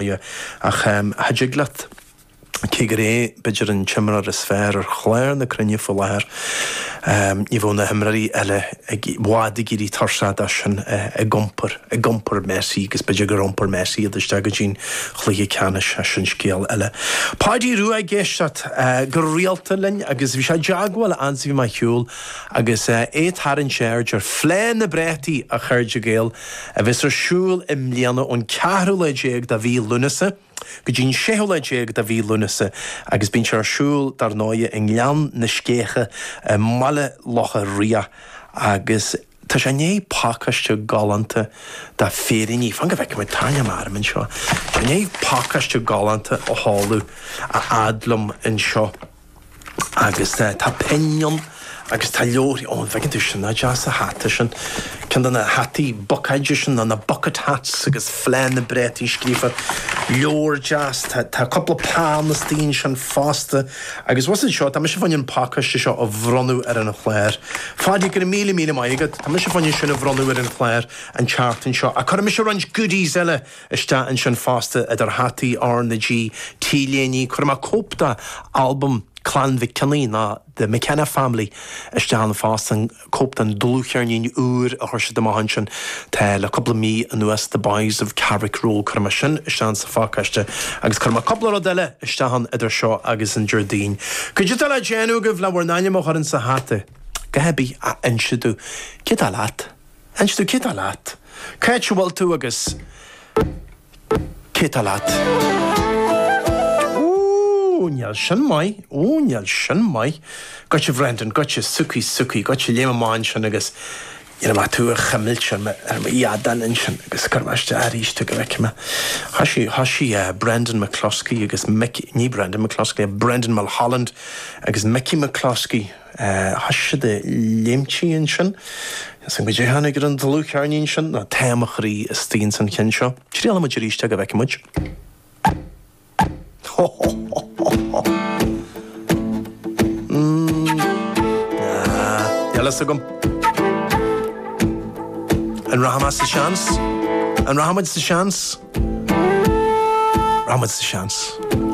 Ach cha dtig leat, cé gur é b'fhéidir an t-imreoir is fearr ar chlár na cruinne faoi láthair, ní bheadh na himreoirí eile i bhfad ag éirí tuirseach de sin ag iompar, ag iompar Messi agus b'fhéidir gur iompair Messi iad isteach go dtí'n chluiche ceannais, sin scéal eile. Páidí Rua ag éisteacht go rialta linn agus bhí sé i dteagmháil a'd is a bhí mé ar shiúl agus é ag tarraingt aird ar Fleá na bPréataí, a chairde Gael, a bheas ar siúl i mbliana ón ceathrú lá déag de mhí Lúnasa go dtí an séú lá déag de mhí Lúnasa agus bíonn sé ar siúl dar ndóighe i nGleann na Scéithe i mBaile Locha Riach agus tá sé i ndiaidh pacáiste galánta de féiríní, fan go bhfeicfidh muid, tarraingeoidh mé orm anseo, tá sé i ndiaidh pacáiste galánta a sheoladh a fhad liom anseo. Agus tá pinn ann agus tá leabharthaí, ó an bhfeiceann tú sin, nach deas an hata sin, ceann de na hataí bucáide sin, nó na bucket hats agus Fleá na bPréataí scríofa, leabhar deas, tá tá cúpla peann istigh ansin fosta agus bhfuil fhios agat seo, tá mise fá choinne an pacáiste seo a bhronnadh ar an chlár. Pháidí, go raibh míle míle maith agat, tá mise fá choinne sin a bhronnadh ar an chlár an tseachtain seo ach cuirfidh mise roinnt goodies eile isteach ansin fosta, idir hataí R na G, T-léiní, cuirfidh mé cóip de albam Clann Mhic Cionnaith nó The McKenna Family isteach ann fosta, cóip den dlúthcheirnín úr a chuir siad amach ansin tá le cúpla mí anuas, The Boys of Carrick Road, cuirfidh mé sin isteach sa phacáiste agus cuirfidh mé cúpla rud eile isteach ann idir seo agus an Déardaoin. Cad é atá le déanamh agaibh le bhur n-ainm a chur in sa hata? A dhath ar bith ach inse domh cé atá leat? Inis domh cé atá leat? Cá háit a bhfuil tú agus cé atá leat? Ó, níl sin maith. Ó, níl sin maith. Goitse Bhrendan, goitse, Suki, Suki, goitse, léim amach ansin agus iarrfaidh mé tú a chuimilt ar mo, ar mo fheadán ansin agus cuirfidh mé isteach arís tú go bhfeicfidh mé. Thoisigh, thoisigh Brendan McCluskey agus Mick, ní Brendan McCluskey, Brendan Mulholland agus Mickey McCluskey. Thoisigh siad ag léimtí ansin. Is an goidé a tháinig ar an dlúthcheirnín sin ná tá mo chroí istigh ins an cheann seo. Triailfidh muid arís é go bhfeicfidh muid. Ho ho ho ho ho. Mm. Ah, níl fhios agam. An rachaidh mé sa seans? An rachaidh muid sa seans? Rachaidh muid sa seans.